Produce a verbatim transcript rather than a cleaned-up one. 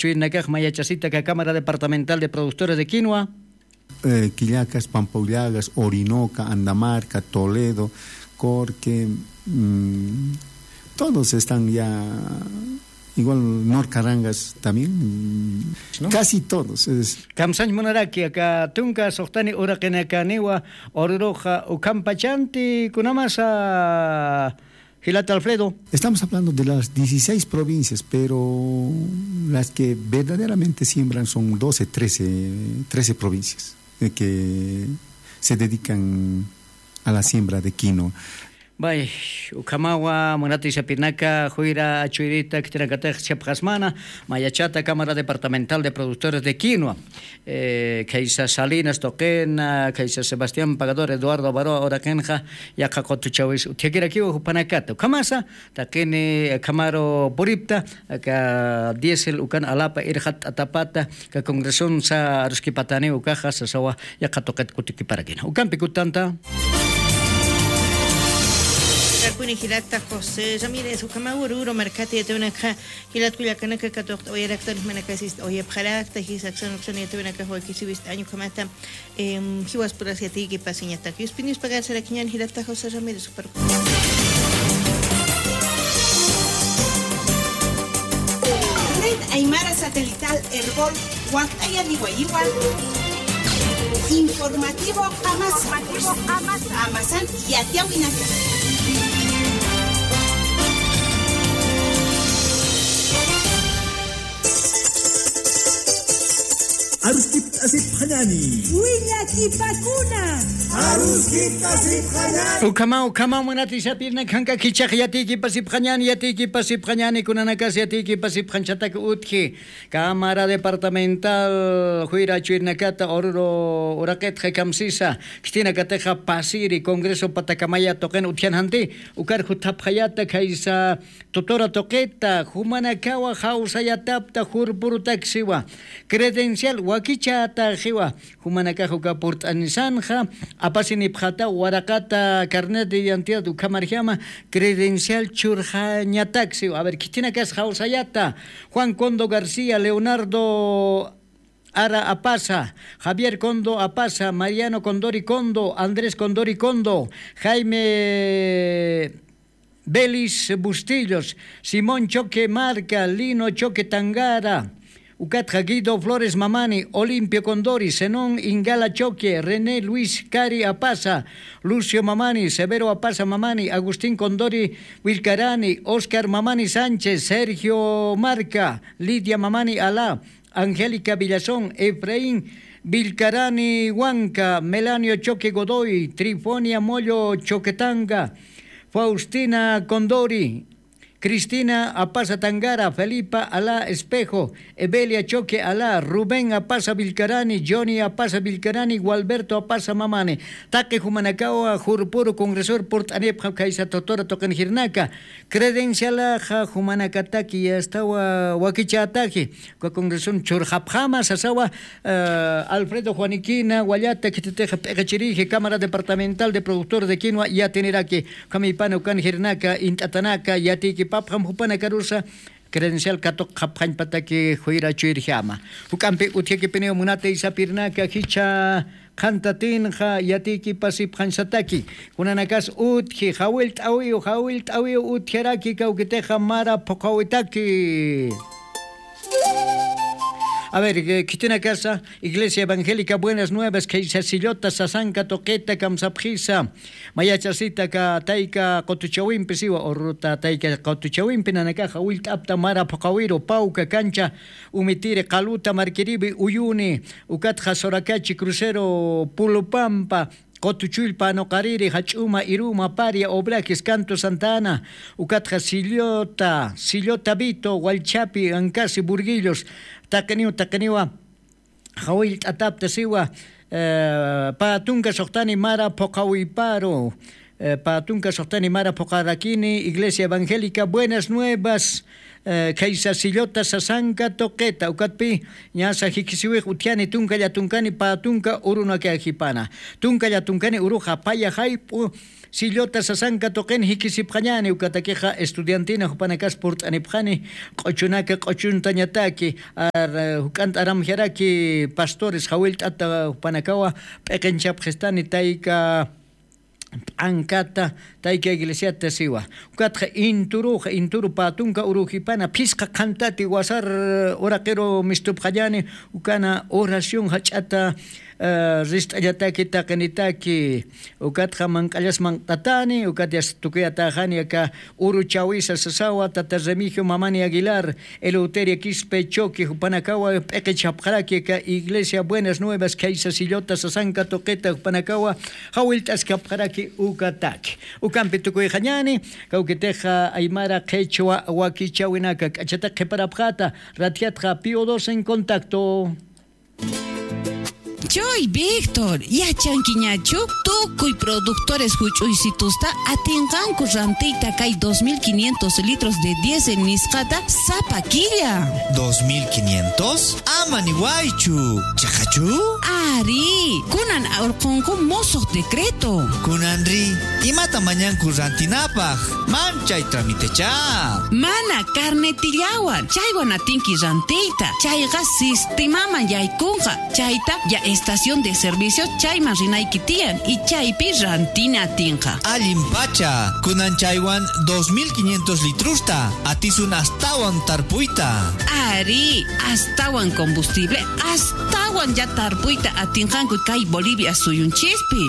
chuyrnakax mayachasita ka Cámara Departamental de Productores de Quinua. Eh, Quillagas, Pampa Ullagas, Orinoca, Andamarca, Toledo, Corque, mm, todos están ya, igual Norcarangas también, mm, ¿no? Casi todos. Es... Kamsañ munaraki, aka tunka suxtani uraqinakaniwa, Oruruxa, ukhampachanti kunamasa, jilata Alfredo. Estamos hablando de las dieciséis provincias, pero las que verdaderamente siembran son doce, trece, trece provincias, eh, que se dedican a la siembra de quinoa. Bay, ukhamawa, munati sapinaka, juyra chuyrita, khitinakatix chapxasmana, mayachata Cámara Departamental de Productores de Quinoa. Eh, khaysa Salinas tuqina, khaysa Sebastián Pagador, Eduardo Avaroa uraqinxa, yaqha qutuchawis utjakirakiwa jupanakata. Ukhamasa, taqini, eh, khamaru puripta, aka diésel ukan alapa irxat'atapata, ka congresonsa aruskipatani ukaxa, sasawa, yaqha tuqit kutikiparakina. Ukampi kutanta. Kakuni jilata José Ramírez, ukhamawa Oruro markata yatawinakxa, jilat kullakanaka katuqta uyarakta, manakasista uyapxarakta, jisaksan uksan yatawinakax wakisiwista año ukhamata, em, jiwaspuras yatiyki pasiñatak. Yuspinius pagar sarakiñan jilata José Ramírez, super. Red Aymara Satelital Erbol, Waktayani Wayiwan. Informativo Amasa. Amasan yatiawinaka. Aruskipt'asipxañani. Willakipakuna. Aruskipt'asipxañani. Ukhama, ukhama, munati sapirna khanka khichax yatiykipasipxañani, yatiykipasipxañani, kunanakas yatiykipasipxañchatak utji. Cámara Departamental juyra chuyrnakata Oruro uraqitxa kamsisa, khitinakatixa pasiri, Congreso patakamaya tuqin utjanjanti, ukar juthapxayata khaysa, Tutura tuqita, jumanakawa jawsayatapta jurpurutaksiwa. Credencial wakichataxiwa. Jumanakax uka purt'anisanxa, apasinipxata waraqata carnet de identidad ukhamarjama credencial churxañataksiwa. A ver, khitinakas jawsayata. Juan Condo García, Leonardo Ara Apasa, Javier Condo Apasa, Mariano Condori Condo, Andrés Condori Condo, Jaime Belis Bustillos, Simón Choque Marca, Lino Choque Tangara, ukatxa Guido Flores Mamani, Olimpio Condori, Zenón Ingala Choque, René Luis Cari Apasa, Lucio Mamani, Severo Apasa Mamani, Agustín Condori Vilcarani, Oscar Mamani Sánchez, Sergio Marca, Lidia Mamani Alá, Angélica Villazón, Efraín Vilcarani Huanca, Melanio Choque Godoy, Trifonia Mollo Choquetanga, Faustina Condori, Cristina Apasa Tangara, Felipa Alá Espejo, Evelia Choque Alá, Rubén Apasa Vilcarani, Johnny Apasa Vilcarani, Gualberto Apasa Mamani. Taqi jumanakawa jurpuru congresor purt'anipxa khaysa tutura tuqin jirnaka. Credencialaxa jumanakataki yastawa wakichätaki. Uka congreson churxapxama sasawa, eh, Alfredo Juaniquina Wallata, khititixa p'iqichiriji Cámara Departamental de Productores de Quinua yatiniraki, ukham ipana ukan jirnaka, int'atanaka, yatiykipapxam jupanakarusa, credencial katuqxapxañpataki juyra chuyrjama. Juk'ampi utjakipiniw munata isapirnaka, jichha qhantatinxa yatiykipasipxañsataki. Kunanakas utji, jawillt'awiw, jawillt'awiw utjaraki kawkitixa mara phuqhawitaki. A ver, eh, khitinakasa, Iglesia Evangélica Buenas Nuevas, khaysa Sillota sasanka tuqita kamsapxisa. Mayachasita ka tayka qutuchawimpi siwa, Uruta tayka qutuchawimpi nanakaxa jawillt'apta mara phuqhawiru, Pawka, Kancha, Umitiri, Qaluta, Markiribi, Uyuni, ukatxa Sorakachi, Crucero, Pulupampa, Qutuchullpa, Anuqariri, Jach'uma, Iruma, Paria, Obrajes, Canto Santa Ana, ukatxa Sillota, Sillota Vito, Wallchapi, Ancasi, Burguillos, taqiniw, taqiniwa, jawillt'atapta siwa, eh, pä tunka suxtani mara phuqhawiparu, eh, pä tunka suxtani mara phuqharakini, Iglesia Evangélica Buenas Nuevas, Khaysa sillota sasanka tuqita ukatpi ñasa jikisiwix utjani tunka llatunkani pä tunka urunakajipana. Tunka llatunkani uruxa paya jayp'u sillota sasanka tuqin jikisipxañani ukatakixa estudiantina jupanakas purt'anipxani q'uchunaka q'uchuntañataki. Juk'ant'aramjaraki pastores jawillt'ata jupanakawa p'iqinchapxistani tayka p'ankata tayka iglesiata siwa. Ukatxa inturuxa inturu pä tunka urujipana phisqa qhantati wasar uraqiru mistupxañani. Ukana oración jach'ata rist'añataki taqinitaki. Ukatxa manq'allas manq'tatani ukat yasta tukuyatäxani aka uru chawisa sasawa tata Remigio Mamani Aguilar, Eleuteria Quispe Choque jupanakawa p'iqichapxaraki aka iglesia Buenas Nuevas khaysa sillota sasanka tuqita jupanakawa jawillt'askapxaraki ukataki. Ukampi tukuyxañani kawkitixa aymara qhichwa wakichawinaka k'achata qhiparapxata. Ratjatxa Pío dos en contacto. Chuy Víctor, yachankiñachu? Tukuy productores juch'uysitusta atinqanku rantiyta kay dos mil quinientos litros de diésel nisqata sapa killa. ¿Dos mil quinientos? Ama niwaychu. ¿Chiqachu? Ari, kunan urqunku musuq decreto. Kunanri, imata mañanku rantinapaq? Man chay tramitechá. Mana carnetillawan chaywan atinki rantiyta. Chayqa sistemaman yaykunqa. Chayta ya estación de servicio chayman rinayki tiyan y chaypi rantina atinqa. Allinpacha, kunan chaywan dos mil quinientos litrosta atisun astawan tarpuyta. Ari, astawan combustible astawan ya tarpuyta atinqanku kay Bolivia suyunchispi.